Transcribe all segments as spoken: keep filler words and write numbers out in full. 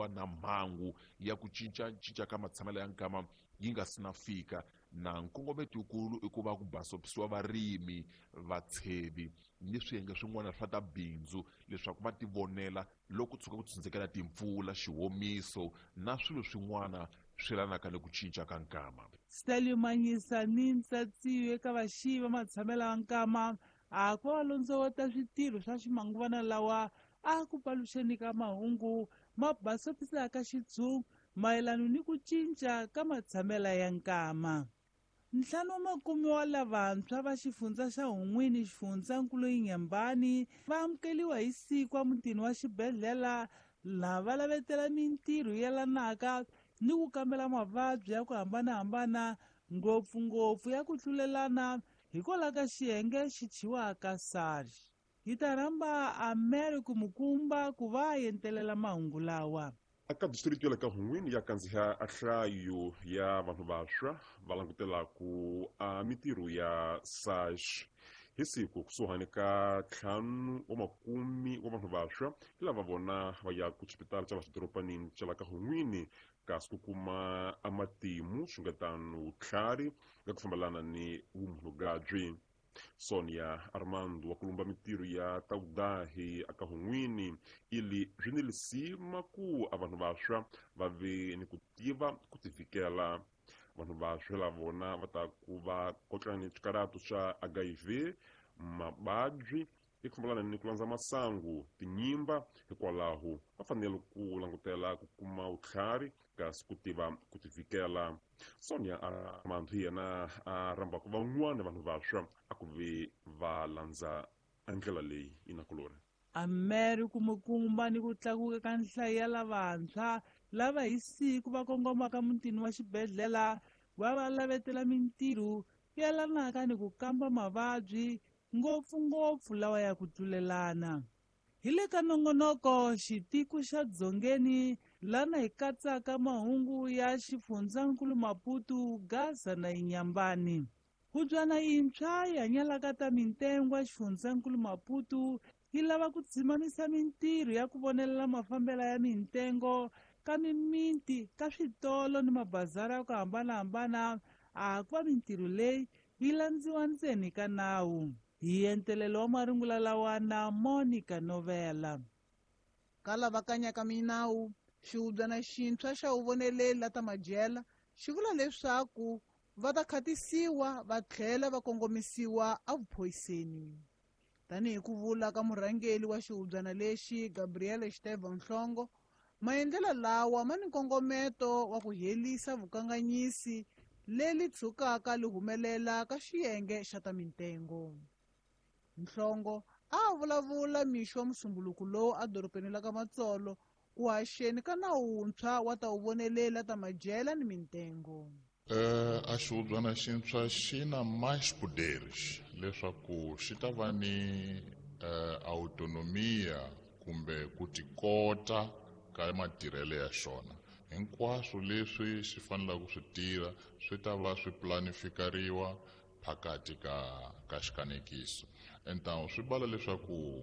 Na mhangu ya ku cincacinca ka matshamelo ya nkama yi nga si na fika, na nkongometo wukulu i ku va ku basopisiwa varimi, vatshevi ni swiyenge swin'wana swa ta bindzu leswaku va tivonela loko tshuka ku tshundzekela timpfula, xihomiso na swilo swin'wana swi yelanaka ni ku cinca ka nkama. Stalio Manyisa ni Ntsatsiyo eka vaxiyi va matshamelo ya nkama a ku va londzovota switirho swa ximanguvana lawa a ku paluxeni ka mahungu ma basopisaka xitshungu mayelana ni ku cinca ka matshamelo ya nkama. Ntlhanu wa makume wa lavantshwa va xifundza xa Hun'wini, xifundzankulu Inhambane, va amukeliwa hi siku emutini wa xibedhlele laha va lavetela mintirho yelanaka ni ku kambela mavabyi ya ku hambanahambana, ngopfungopfu ya ku tlulelana hikwalaho ka xiyenge xi thyiwaka SARS. Hi ta rhamba America Mukumba ku va a entelela mahungu lawa. Aka district ya le ka Hun'wini ya kandziha a nhlayo ya vanhu vantshwa va langutelaku a mintirho ya SARS. Hi siku kusuhani ka ntlhanu wa makumi wa vanhu vantshwa hi lava vona va ya ku xipitala xa la xidoropanini xa la ka Hun'wini, kasi ku kuma a matimu swi nga tano vutlhari nga ku fambelana ni vumunhugabyi. Sonia Armando wa kulumba mintirho ya tawudahi aka Hun'wini ili swi ni lisima ku a vanhu vantshwa va ve ni ku tiva ku tivikela. Vanhu vantshwa la vona va ta ku va kotlana ni swikaratu swa H I V, mavabyi hi ku fambelana ni ku landza masangu, tinyimba, hikwalaho va fanele ku langutela ku kuma vutlhari kasi ku tiva ku tivikela. Sonia Armando hi yena a rhambaka van'wana vanhu vantshwa a ku ve va landza ndlela leyi inakulori. America Mukumba ni ku tlakuka ka nhlayo ya lavantshwa lava hi siku va kongomaka mutini wa xibedhlele va va lavetela mintirho yelanaka ni ku kamba mavabyi, ngopfungopfu lawa ya ku tlulelana. Hi le ka nongonoko xitiko xa Dzongeni lana hi katsaka mahungu ya xifundzankulu Maputo, Gaza na Inhambane. Hubyana yintshwa yi hanyalaka ta mintengwa xifundzankulu Maputo yi lava ku dzimamisa mintirho ya ku vonelela mafambelo ya mintengo ka mimiti, ka switolo ni mabazara ya ku hambanahambana, a ku va mintirho leyi yi landziwa ndzeni ka nawu. Hi entelelo wa marungula lawa na Monica Novela. Ka lava kanyaka minawu, xihubyana xintshwa xa vuvoneleli la ta madyela xi vula leswaku va ta khatisiwa va tlhela va kongomisiwa evuphoyiseni. Tanihi ku vula ka murhangeri wa xihubyana lexi Gabriel Estevan Nhlongo, maendlelo lawa ma ni nkongometo wa ku herisa vukanganyisi leri tshukaka li humelela ka xiyenge xa ta mintengo. Nhlongo a vulavula mixo wa musumbuluku lowu edorobeni la ka Matsolo ku haxeni ka nawu wuntshwa wa ta vuvoneleli ta madyela ni mintengo. Uh, a xihubyana xintshwa xi na mais poderes leswaku xi ta va ni uh, autonomia kumbe ku tikota ka matirhelo ya xona. Hinkwaswo leswi xi fanelaka ku swi tirha swi ta va swi planifikariwa phakathi ka ka xikanekiso. Então swi bala leswaku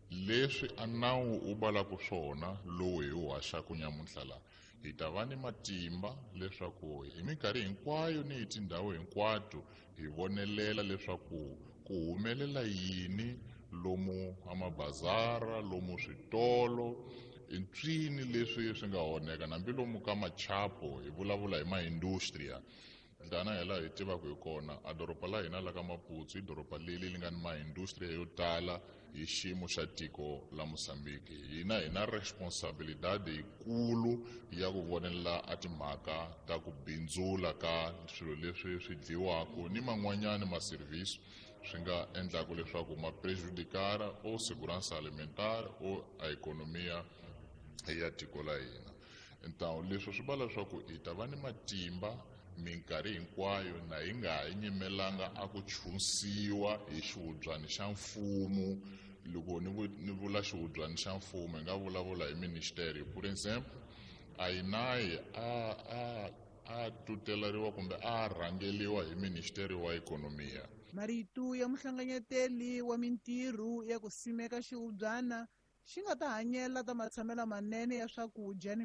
leswi a nawu wu balaka swona lowu hi wu haxaka nyamuntlha la, hi ta va ni matimba leswaku hi minkarhi hinkwayo ni hi tindhawu hinkwato hi vonelela leswaku ku humelela yini lomu amabazara, lomu switolo, i ncini leswi swi nga onheka, hambi lomu ka machapo hi vulavula hi maindustria. Tana hi laha hi tivaka hi kona, a doroba la hina la ka Maputo i doroba leri li nga ni maindustria yo tala hi xiyimo xa tiko la Mozambique. Hina hi na responsabilidade yikulu ya ku vonelela a timhaka ta ku bindzula ka swilo leswi swi dyiwaka ni man'wanyani ma-service swi nga endlaka leswaku ma prejudicare o segurança alimentar o a economia ya tiko la hina. Então leswi swi vula leswaku hi ta va ni matimba minkarhi hinkwayo na hi nga ha nyimelanga a ku chunsiwa hi xihubyana xa mfumo. Loko ni ni vula xihubyana xa mfumo hi nga vulavula hi ministeri. Por exemple, a yinayi a a a tuteleriwa kumbe a rhangeliwa hi ministeri wa ekonomiya. Marito ya muhlanganyeteli wa mintirho ya ku simeka xihubyana xi nga ta hanyela ta matshamelo manene ya swakudya ni